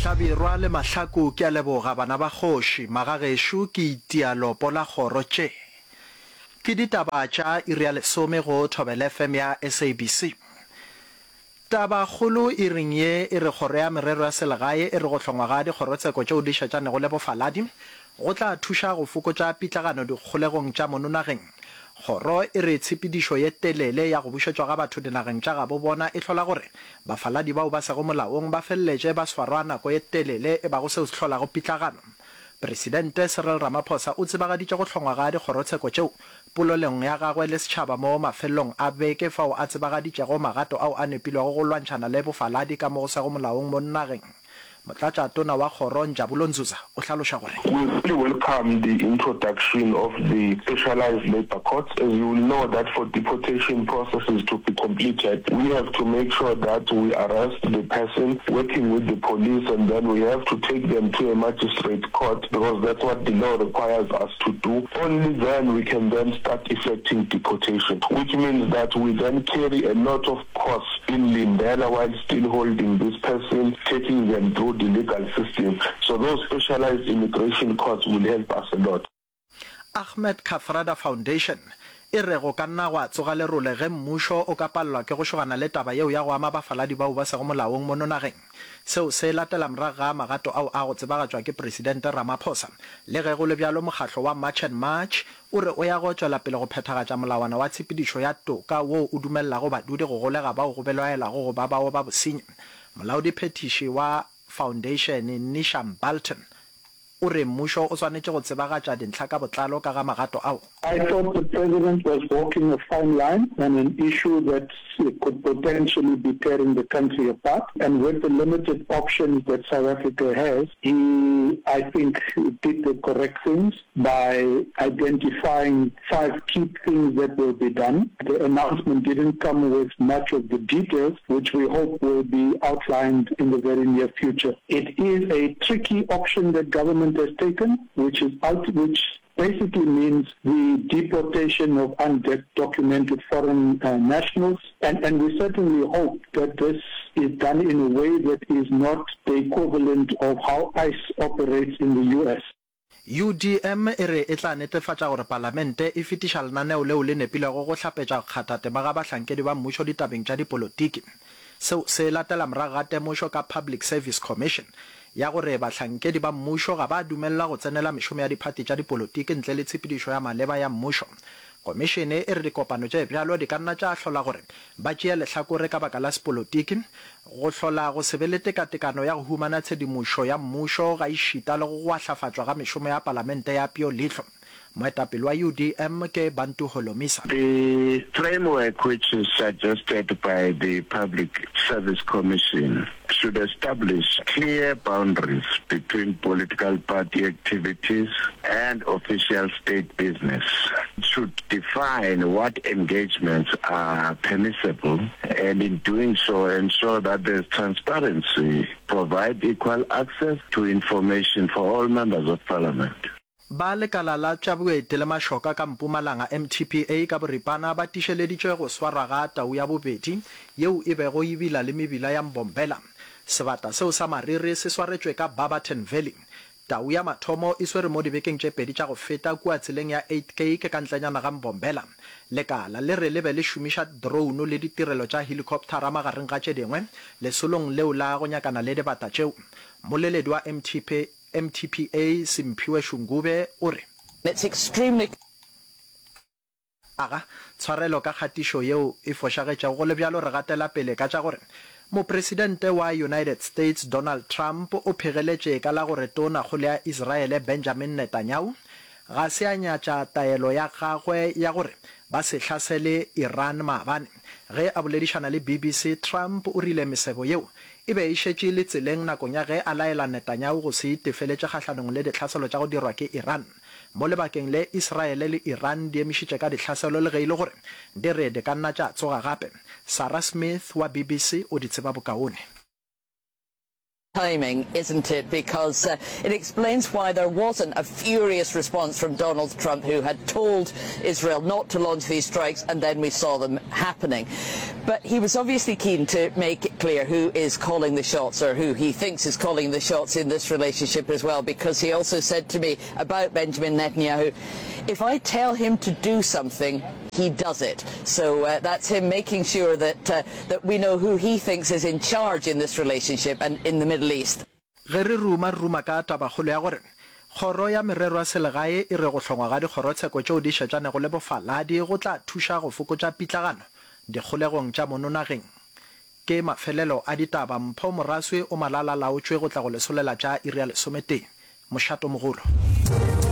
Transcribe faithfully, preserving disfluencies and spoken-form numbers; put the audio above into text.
Hlabirwa le Mahlaku ke a leboga bana ba kgoši, magagešo ke itia lopo la kgoro tše. Ke ditaba tša iri ya lesome go Thobela F M ya S A B C. Tabakgolo iring ye e re Kgoro ya Merero ya Selegae e re go hlongwa ga dikgorotsheko tšeo di šetšanego le bofaladi go tla thuša go fokotša pitlagano dikgolegong tša mono nageng. Kgoro e re tshepedišo ye telele ya go bušetšwa ga batho dinageng tša gabo bona e hlola gore bafaladi bao ba sego molaong ba feleletše ba swarwa nako ye telele e bago seo se hlolago pitlagano. Presidente Cyril Ramaphosa o tsebagaditše go hlongwa ga dikgorotsheko tšeo polelong ya gagwe le setšhaba mo mafelelong a beke fao a tsebagaditšego magato ao a nepilwego go lwantšhana le bofaladi ka mo go sego molaong mo nageng. Motlatšatona wa kgoro Njabulo Nzuza o hlaloša gore. We really welcome the introduction of the specialised labour courts. As you will know that for deportation processes to be completed, we have to make sure that we arrest the person working with the police and then we have to take them to a magistrate court because that's what the law requires us to do. Only then we can then start effecting deportation, which means that we then carry a lot of costs in Lindela while still holding this person, taking them through the legal system. So those specialized immigration courts will help us a lot. Ahmed Kathrada Foundation e re go ka nna gwa tsoga lerole ge mmušo o ka palelwa ke go šogana le taba yeo ya go ama bafaladi bao ba sego molaong mono nageng. Seo se latela morago ga magato ao a go tsebagatšwa ke Presidente Ramaphosa. Le ge go le bjalo mokgatlo wa March and March o re o ya go tšwela pele go phethagatša molawana wa tshepedišo ya toka woo o dumelelago badudi go golega bao go belaelwago go ba bao ba bosenyi. Molaodiphethiši wa Foundation Neesham Balton o re mmušo o swanetše go tsebagatša dintlha ka botlalo ka ga magato ao. I thought the president was walking a fine line on an issue that could potentially be tearing the country apart, and with the limited options that South Africa has, he, I think, did the correct things by identifying five key things that will be done. The announcement didn't come with much of the details, which we hope will be outlined in the very near future. It is a tricky option that government has taken, which is out, which basically means the deportation of undocumented foreign, uh, nationals. And, and we certainly hope that this is done in a way that is not the equivalent of how ICE operates in the U S. U D M e re e tla netefatša gore palamente e fetiša lenaneo leo le nepilego go hlapetša go kgatha tema ga bahlankedi ba mmušo ditabeng tša dipolotiki. Seo se latela morago ga temošo ka Public Service Commission ya gore bahlankedi ba mmušo ga ba dumelelwa go tsenela mešomo ya diphathi tša dipolotiki ntle le tshepedišo ya maleba ya mmušo. Komišene e re dikopano tše bjalo di ka nna tša hlola gore ba tšee lehlakore ka baka la sepolotiki, go hlola go se be le tekatekano ya go humana tshedimošo ya mmušo ga ešita le go gwahlafatšwa ga mešomo ya palamente ya peo leihlo. Moetapele wa U D M ke Bantu Holomisa. The framework which is suggested by the Public Service Commission should establish clear boundaries between political party activities and official state business. It should define what engagements are permissible and in doing so ensure that there's transparency, provide equal access to information for all members of parliament. Ba lekala la tša boeti le mašoka ka Mpumalanga, M T P A, ka boripana ba tišeleditše go swarwa ga tau ya bobedi yeo e bego e bila le mebila ya Mbombela. Sebata seo sa mariri se swaretšwe ka Barberton Valley. Tau ya mathomo e swere mo dibekeng tše pedi tša go feta kua tseleng ya Uitkyk ka ntlenyana ga Mbombela. Lekala le re le be le šomiša drone le ditirelo tša helicoptera magareng ga tše dingwe lesolong leo la go nyakana le dibata tšeo. Mmoleledi wa M T P M T P A Simphiwe Shungube o re. It's extremely. Aga, tshwarelo ka kgatišo yeo e fošagetšego, go le bjalo re gatela pele ka tša gore Mopresidente wa United States Donald Trump o phegeletše ka la gore Tonakgolo ya Israele Benjamin Netanyahu ga se a nyatša taelo ya gagwe ya gore ba se hlasele Iran maabane. Ge a boledišana le B B C, Trump o rile mesebo yeo e be e šetše e le tseleng nakong ya ge a laela Netanyahu go se itefeletše kgahlanong le dihlaselo tša go dirwa ke Iran. Mo lebakeng le, Israele le Iran di emišitše ka dihlaselo le ge e le gore di re di ka nna tša tsoga gape. Sarah Smith wa B B C o di tseba bokaone. Timing, isn't it? Because uh, it explains why there wasn't a furious response from Donald Trump, who had told Israel not to launch these strikes, and then we saw them happening. But he was obviously keen to make it clear who is calling the shots or who he thinks is calling the shots in this relationship as well, because he also said to me about Benjamin Netanyahu, if I tell him to do something, he does it. So uh, that's him making sure that, uh, that we know who he thinks is in charge in this relationship and in the Middle East. Ge re ruma, re ruma ka tabakgolo ya gore Kgoro ya Merero ya Selegae e re go hlongwa ga dikgorotsheko tšeo di šetšanego le bofaladi go tla thuša go fokotša pitlagano dikgolegong tša mono nageng. Ke mafelelo a ditaba. Mpho Moraswi o malala-laotšwe go tla go le solela tša iri ya lesometee. Mošatomogolo.